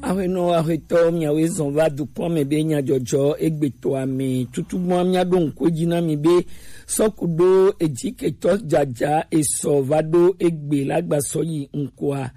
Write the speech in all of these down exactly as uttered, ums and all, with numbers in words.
Aƒenɔ, aƒetɔ, miawoe zɔn va dukɔ me be nyadzɔdzɔ egbetɔa me. Tutugbɔn, miaɖo ŋku edzi na mi be sɔku ɖo edziketɔ dzadza esɔ va ɖo egbe la gba sɔ yi ŋkɔa.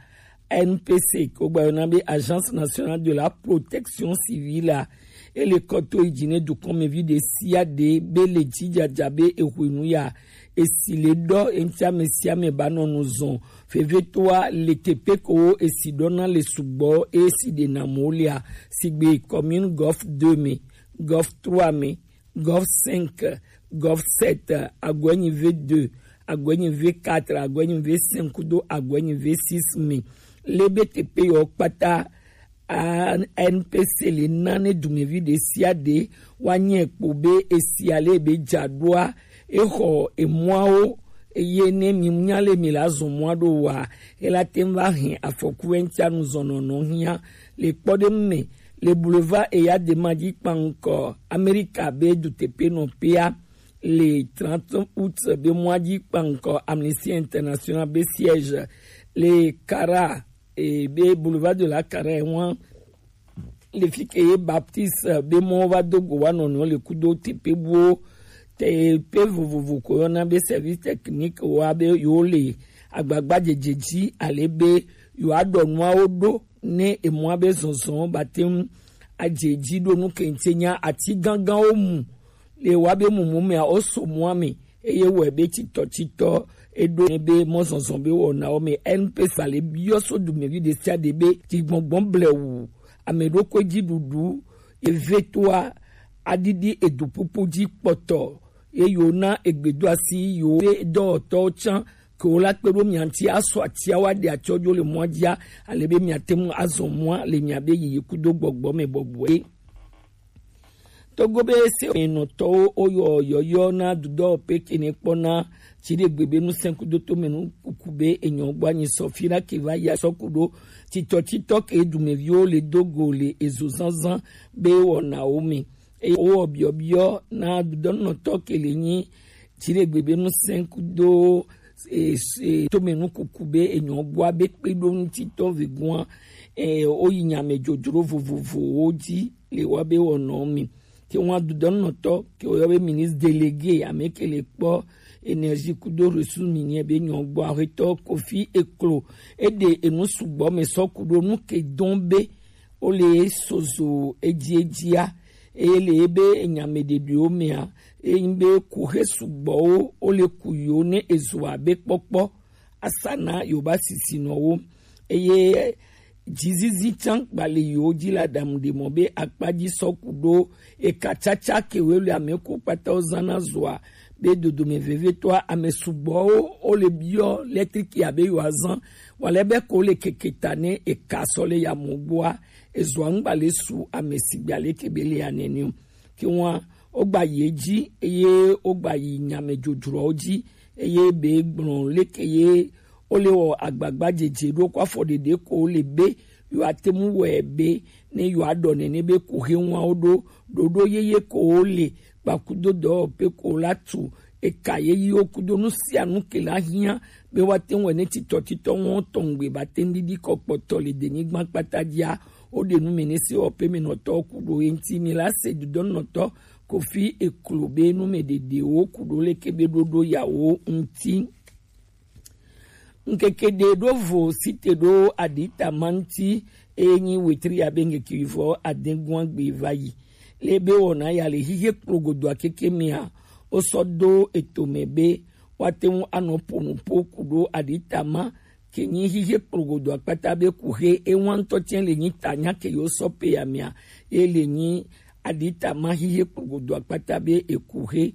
N P C, ko gba yɔna be Agence Nationale de la Protection Civile a, ele kɔ to yi dzi ne dukɔmevi ɖe sia ɖe be le dzi dzadza be ehwenu ya, esi le ɖɔ eŋti ame sia ame ba nɔ nu zɔn. Vevetoa le teƒe ko esi ɖɔna le sugbɔ, esi ɖena mo lea, sigbe commune Golf deux me, Golf trois me, Golf cinq, Golf sept, Aguenyi V deux, Aguenyi V quatre, Aguenyi V cinq kudo Aguenyi V six me. Le be teƒe yɔ kpata, a, N P C le na ne dumevi ɖe sia ɖe wa nyɛ kpo be esia le be dza ɖoa, exɔ emɔawo, eye ne mi nya le mi la zɔn mɔa ɖo wa, ela te ŋu va hɛn afɔku eŋtia nu zɔn nɔnɔ hiã le kpɔɖeŋu me. Le boulevard Eyadema dzi kpankɔ Amerika be duteƒenɔƒea, le trente août be mɔa dzi kpankɔ Amnesty International be siège, le Kara, e, be boulevard de la Kara ŋua, le fi ke ye Baptiste be mɔ va do go wa nɔnɔ le kudo teƒe buwo, teƒe vovovo ko yɔna be service technique wa be yewo le agbagba dzedze dzi ale be yewoaɖɔ nuawo ɖo ne emɔa be zɔzɔ ba te ŋu adze edzi ɖo nu ke ŋuti nya ati gãgãwo mu le wa be mumu mea woso mɔa me, eye wɔe be titɔtitɔ eɖo ne be mɔzɔzɔ be wɔnawo me. N P C le biɔ so dumevi ɖe sia ɖe be dzigbɔgbɔ blewu, ame ɖokui dziɖuɖu, eve toa aɖiɖi edu ƒuƒu dzi kpɔtɔ, ye yewo na egbedoasi yewo be dɔwɔtɔwo tsã ke wo la kpe ɖo mia ŋuti asɔ atia wa ɖe atsɔ dzo le mɔa dzia, ale be miate ŋu azɔ mɔa le miabe yiyi kudo gbɔgbɔ me bɔbɔe. Togo be se enɔtɔwo woyɔ yɔyɔ na dudɔ pe kene kpɔna dziɖegbe be nusẽ kudo tome nu kuku be enyɔ gbɔ anyi sɔ fi ɖa ke va ya sɔ ku ɖo titɔtitɔ ke dumeviwo le do go le ezo zazã be wɔnawo me. Eye wowɔ biɔbiɔ na dudɔnɔtɔ ke le nyi dziɖegbe be nusẽ kudo e, e, tome nu kuku be enyɔ gbɔa be kpe ɖo ŋutitɔ vegua, e, woyi nyame dzodzro vovovowo dzi le wa be wɔnɔ mi. Ke ŋua dudɔnɔtɔ ke woyɔ be ministre délégué ame ke le kpɔ énergie kudo ressources minières be nyɔ gbɔ aƒetɔ Kofi Eklo, eɖe enu sugbɔ me sɔ ku ɖo nu ke dɔn be wole sozo edziedzia, eye le ebe enyameɖeɖewo mea, enyi be kuxe sugbɔwo wole ku yiwo ne ezu abe kpɔkpɔ asana yewo ba sisinɔwo, eye dzizizi tsã gba le yiwo dzi le aɖaŋu ɖe mɔ be akpa dzi sɔ ku ɖo eka tsatsa kewoe le ame ku kpatawo zãna zɔa be dodome vevietɔa ame sugbɔwo wole biɔ lɛtriki abe yewoazã wale be ko le keke ta ne eka sɔ le ya mo gbɔa, ezɔa ŋgba le su ame sigbe aleke be le ya nene o. Ke ŋua, wogba yi edzi, eye wogba yi nyame dzodzroawo dzi, eye be gblɔ leke ye wole wɔ agbagba dzedze ɖo ko afɔ ɖeɖe ko le be yewoate ŋu wɔe be ne yewoaɖɔ nene be kuxi ŋua wo ɖo ɖoɖo yeye ko wole kpakudo dɔwɔƒe ko la tu eka yeyiwo kudo nu sia nu ke la hiã be woate ŋu wɔe ne titɔtitɔ ŋɔ tɔŋgbe ba te ŋu ɖiɖi kɔ kpɔtɔ le denyigba kpata dzia, woɖe nu me ne sewɔƒe me nɔtɔwo ku ɖo ye ŋuti. Mi la se dudɔnɔtɔ Kofi Eklo be nu me ɖeɖewo ku ɖo leke be ɖoɖo yawo ŋuti. Ŋkeke ɖe ɖo vo site ɖo aɖita ma ŋuti, eye nyi wetri ya be ŋkeke vɔ adegua gbe va yi. Le be wɔna ya le xixe kplogodoa keke mea, wosɔ do eto me be woate ŋu anɔ ƒo nu ƒo ku ɖo aɖita ma ke nyi xixe kplogodo akpata be kuxe ewa ŋutɔ tsɛ le nyi ta nya ke yewo sɔ pe ya mea, ye le nyi aɖita ma xixe kplogodo akpata be ekuxe